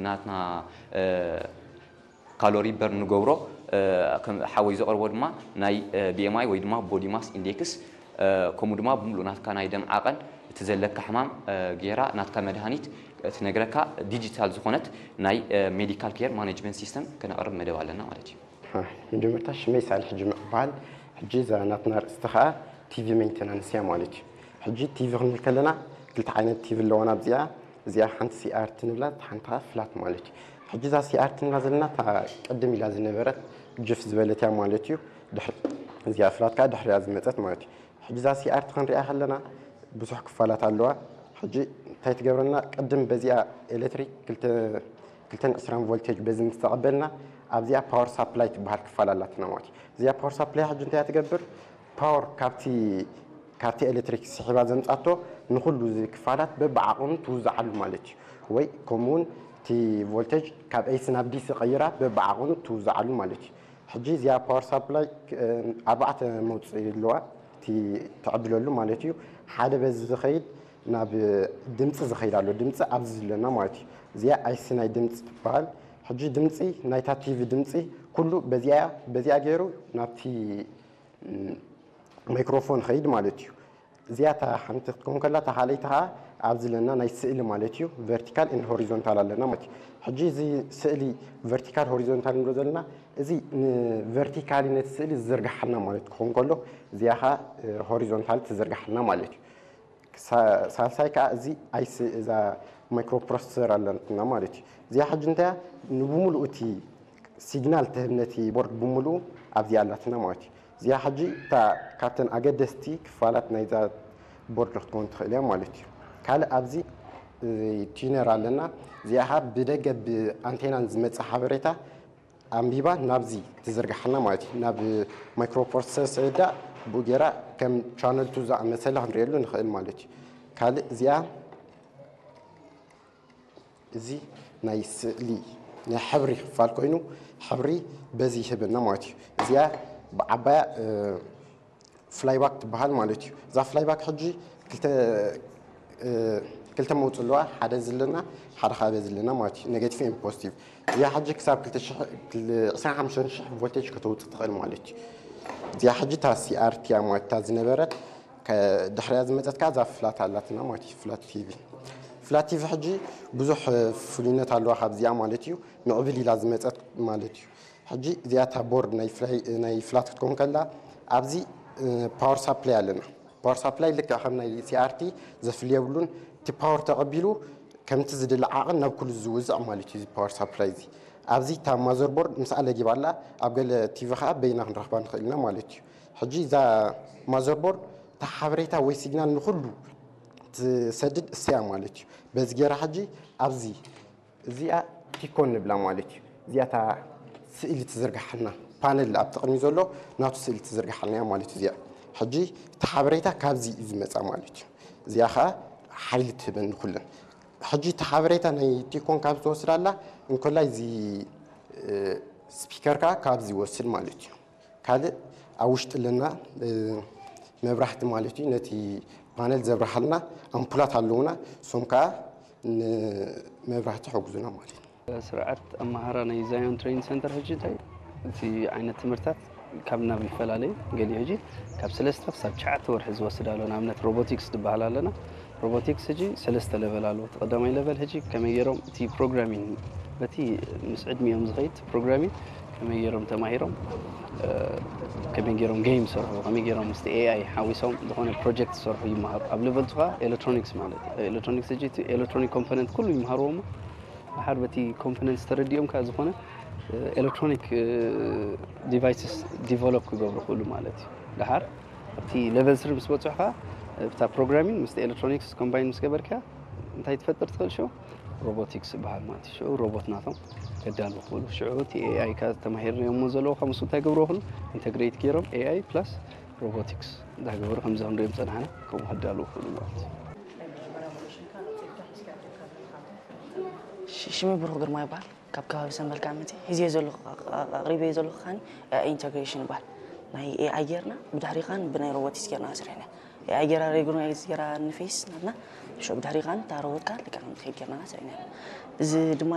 ናትና ካሎሪ በርን ንገብሮ። ሓወይ ዘቕርቦ ድማ ናይ ቢኤምኣይ ወይ ድማ ቦዲ ማስ ኢንዴክስ፣ ከምኡ ድማ ብምሉእ ናትካ ናይ ደም ዓቐን፣ እቲ ዘለካ ሕማም ገይራ ናትካ መድሃኒት ትነግረካ ዲጂታል ዝኾነት ናይ ሜዲካል ኬር ማኔጅመንት ሲስተም ከነቕርብ መደብ ኣለና ማለት እዩ። መጀመርታ ሽመይ ሳልሕ ጅምዕ ይበሃል። ሕጂ እዛ ናትና ርእስቲ ከዓ ቲቪ ሜንቴናንስ እያ ማለት እዩ። ሕጂ ቲቪ ክንብል ከለና ክልተ ዓይነት ቲቪ ኣለዋና ኣብዚኣ። እዚኣ ሓንቲ ሲኣርቲ ንብላ፣ ሓንቲ ከዓ ፍላት ማለት እዩ። ሕጂ እዛ ሲኣርቲ ንብላ ዘለና እታ ቅድም ኢላ ዝነበረት ጅፍ ዝበለት እያ ማለት እዩ። ድሕሪ እዚኣ ፍላት ከዓ ድሕሪያ ዝመፀት ማለት እዩ። ሕጂ እዛ ሲኣርቲ ክንሪኣ ከለና ብዙሕ ክፋላት ኣለዋ። ሕጂ እንታይ ትገብረና? ቅድም በዚኣ ኤሌክትሪክ ክልተ ክልተን ዕስራን ቮልቴጅ በዚ ምስ ተቐበልና ኣብዚኣ ፓወር ሳፕላይ ትበሃል ክፋል ኣላትና ማለት እዩ። እዚኣ ፓወር ሳፕላይ ሕጂ እንታይ ትገብር? ፓወር ካብቲ ካብቲ ኤሌክትሪክ ስሒባ ዘምጻቶ ንኹሉ እዚ ክፋላት በብዓቕኑ ትውዝዓሉ ማለት እዩ። ወይ ከምኡ እውን እቲ ቮልቴጅ ካብ ኤሲ ናብ ዲሲ ቀይራ በብዓቕኑ ትውዝዓሉ ማለት እዩ። ሕጂ እዚኣ ፓወር ሳፕላይ ኣርባዕተ መውፅኢ ኣለዋ፣ እቲ ትዕድለሉ ማለት እዩ። ሓደ በዚ ዝኸይድ ናብ ድምፂ ዝኸይድ ኣሎ። ድምፂ ኣብዚ ዘለና ማለት እዩ። እዚኣ ኣይሲ ናይ ድምፂ ትበሃል። ሕጂ ድምፂ ናይታ ቲቪ ድምፂ ኩሉ በዚኣ በዚኣ ገይሩ ናብቲ ማይክሮፎን ኸይድ ማለት እዩ። እዚኣ እታ ሓንቲ ክትከውን ከላ፣ እታ ካልኣይቲ ከዓ ኣብዚ ኣለና ናይ ስእሊ ማለት እዩ። ቨርቲካል ኤንድ ሆሪዞንታል ኣለና ማለት እዩ። ሕጂ እዚ ስእሊ ቨርቲካል ሆሪዞንታል ንብሎ ዘለና፣ እዚ ንቨርቲካሊ ነቲ ስእሊ ዝዝርግሓልና ማለት ክኸውን ከሎ፣ እዚኣ ከዓ ሆሪዞንታል ትዝርግሓልና ማለት እዩ። ሳልሳይ ከዓ እዚ ኣይሲ እዛ ማይክሮፕሮሰሰር ኣለትና ማለት እዩ። እዚኣ ሕጂ እንታይ እያ? ንብምሉኡ እቲ ሲግናል ትህብ ነቲ ቦርድ ብምሉኡ ኣብዚኣ ኣላትና ማለት እዩ። እዚኣ ሕጂ እታ ካብተን ኣገደስቲ ክፋላት ናይዛ ቦርድ ክትከውን ትኽእል እያ ማለት እዩ። ካልእ ኣብዚ ቲነር ኣለና። እዚኣ ከዓ ብደገ ብኣንቴናን ዝመፅእ ሓበሬታ ኣንቢባ ናብዚ ትዝርግሓልና ማለት እዩ። ናብ ማይክሮፕሮሰሰር ስዕዳ ብኡ ገይራ ከም ቻነል ቱ ዝኣመሰለ ክንሪኤሉ ንኽእል ማለት እዩ። ካልእ እዚኣ እዚ ናይ ስእሊ ናይ ሕብሪ ክፋል ኮይኑ ሕብሪ በዚ ይህበና ማለት እዩ። እዚኣ ብዓባያ ፍላይባክ ትበሃል ማለት እዩ። እዛ ፍላይባክ ሕጂ ክልተ ክልተ መውፅእ ኣለዋ። ሓደ ዘለና ሓደ ካበ ዘለና ማለት እዩ። ኔጌቲቭ ኤን ፖዚቲቭ። እዚኣ ሕጂ ክሳብ ዕስራን ሓሙሽተን ሽሕ ቮልቴጅ ከተውፅእ ትኽእል ማለት እዩ። እዚኣ ሕጂ እታ ሲኣርቲ እያ ማለት እታ ዝነበረት ድሕሪያ ዝመፀት ከዓ እዛ ፍላት ኣላትና ማለት እዩ። ፍላት ቲቪ ፍላት ቲቪ ሕጂ ብዙሕ ፍሉይነት ኣለዋ ካብዚኣ ማለት እዩ። ምዕብል ኢላ ዝመፀት ማለት እዩ። ሕጂ እዚኣ እታ ቦርድ ናይ ፍላት ክትከውን ከላ ኣብዚ ፓወር ሳፕላይ ኣለና። ፓወር ሳፕላይ ልክዕ ከም ናይ ሲኣርቲ ዘፍሊ የብሉን። እቲ ፓወር ተቐቢሉ ከምቲ ዝድለ ዓቕን ናብ ኩሉ ዝውዝዕ ማለት እዩ። እዚ ፓወር ሳፕላይ እዚ ኣብዚ እታ ማዘርቦርድ ምስኣ ለጊባ ኣላ። ኣብ ገለ ቲቪ ከዓ በይና ክንረኽባ ንኽእል ኢና ማለት እዩ። ሕጂ እዛ ማዘርቦርድ እታ ሓበሬታ ወይ ሲግናል ንኹሉ ትሰድድ እሰያ ማለት እዩ። በዚ ገይራ ሕጂ ኣብዚ እዚኣ ቲኮን ንብላ ማለት እዩ። እዚኣ እታ ስእሊ ትዝርግሓልና ፓነል ኣብቲ ቅድሚ ዘሎ ናቱ ስእሊ ትዝርግሓልና እያ ማለት እዩ። እዚኣ ሕጂ እቲ ሓበሬታ ካብዚ እዩ ዝመፃ ማለት እዩ። እዚኣ ከዓ ሓይሊ ትህበኒ ኩለን። ሕጂ እቲ ሓበሬታ ናይ ቲኮን ካብ ዝወስድ ኣላ እንኮላይ እዚ ስፒከር ከዓ ካብዚ ይወስድ ማለት እዩ። ካልእ ኣብ ውሽጢ ኣለና መብራህቲ ማለት እዩ። ነቲ ፓነል ዘብርሃልና ኣምፑላት ኣለውና፣ እሶም ከዓ ንመብራህቲ ይሕግዙና ማለት እዩ። ስርዓት ኣመሃራ ናይ ዛዮን ትሬኒንግ ሰንተር ሕጂ እንታይ እቲ ዓይነት ትምህርታት ካብ ናብ ይፈላለዩ። ገሊኡ ሕጂ ካብ ሰለስተ ክሳብ ትሽዓተ ወርሒ ዝወስድ ኣሎ። ንኣብነት ሮቦቲክስ ዝበሃል ኣለና። ሮቦቲክስ ሕጂ ሰለስተ ለቨል ኣለዎ። እቲ ቀዳማይ ለቨል ሕጂ ከመይ ገይሮም እቲ ፕሮግራሚንግ በቲ ምስ ዕድሚኦም ዝኸይድ ፕሮግራሚንግ ከመይ ገይሮም ተማሂሮም ከመይ ገይሮም ጌም ይሰርሑ ከመይ ገይሮም ምስቲ ኤኣይ ሓዊሶም ዝኾነ ፕሮጀክት ዝሰርሑ ይመሃሩ። ኣብ ለቨል ቱ ከዓ ኤሌክትሮኒክስ ማለት እዩ። ኤሌክትሮኒክስ ሕጂ እቲ ኤሌክትሮኒክ ኮምፖነንት ኩሉ ይመሃርዎ እሞ ድሓር በቲ ኮምፖነንትስ ተረዲኦም ከዓ ዝኾነ ኤሌክትሮኒክ ዲቫይስስ ዲቨሎፕ ክገብሩ ክእሉ ማለት እዩ። ድሓር ኣብቲ ለቨል ስሪ ምስ በፅሑ ከዓ እታ ፕሮግራሚንግ ምስቲ ኤሌክትሮኒክስ ኮምባይን ምስ ገበርካ እንታይ ትፈጥር ትኽእል ሽዑ ሮቦቲክስ ይበሃል ማለት እዩ። ሽዑ ሮቦት ናቶም ከዳልዉ ክእሉ ሽዑ እቲ ኤኣይ ከዓ ተማሂርናዮ እሞ ዘለዉ ካብ ምስኡ እንታይ ገብርዎ ክእሉ ኢንተግሬት ገይሮም ኤኣይ ፕላስ ሮቦቲክስ እንዳገበሩ ከምዚ ክንሪኦም ዝፀናሕና ከምኡ ከዳልዉ ክእሉ ማለት እዩ። ሽመይ ብሩኽ ግርማ ይበሃል። ካብ ከባቢ ሰንበል ካምቲ ሒዝዮ ዘለኹ ኣቕሪበዮ ዘለኹ ከዓኒ ኤኣይ ኢንተግሬሽን ይበሃል። ናይ ኤኣይ ጌርና ብድሕሪ ከዓኒ ብናይ ሮቦቲክስ ጌርና ስሪሕና። ኤኣይ ጌራ ሬኮግናይዝ ጌራ ንፌስ ናትና ሽዑ ብድሕሪ ከዓኒ እታ ሮቦት ከዓኒ ልክዕ ከምቲ ጌርና ስሪሕና። እዚ ድማ